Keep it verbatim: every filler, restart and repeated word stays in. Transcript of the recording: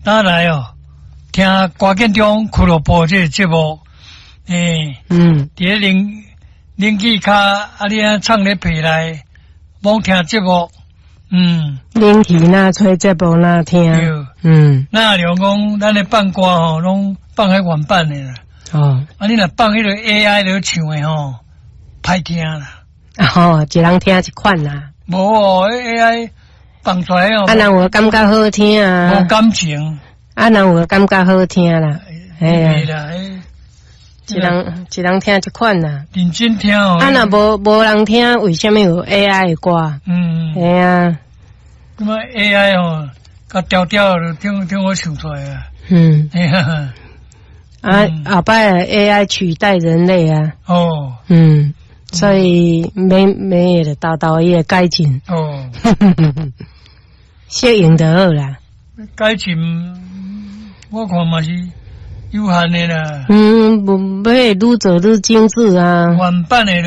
打來哦，聽歌建中俱樂部這個節目，欸，嗯，佇咧冷冷氣跤，啊，你按藏咧被內，罔聽節目，嗯，冷氣若吹節目若聽，對，嗯，那兩講咱咧放歌吼，攏放彼原版的啦。哦，啊，你若放彼個 A I 咧唱的吼，歹聽啦。哦，一人聽一款啦。無哦，A I 放出來哦。啊，人有感覺好聽啊。無感情。啊，人有感覺好聽啦。嘿啊。啦，一人一人聽一款啦。認真聽哦。啊，若無無人聽，為啥物有 A I 的歌？嗯。嘿啊。咁啊，A I 哦，較調調就聽聽我唱出來啊。嗯。嘿啊。啊，後擺 A I 取代人類啊。哦。嗯，所以每每日沓沓伊會改進。哦。適應就好啦。改進，我看嘛是有限的啦。嗯，無欲愈做愈精緻啊。原版的。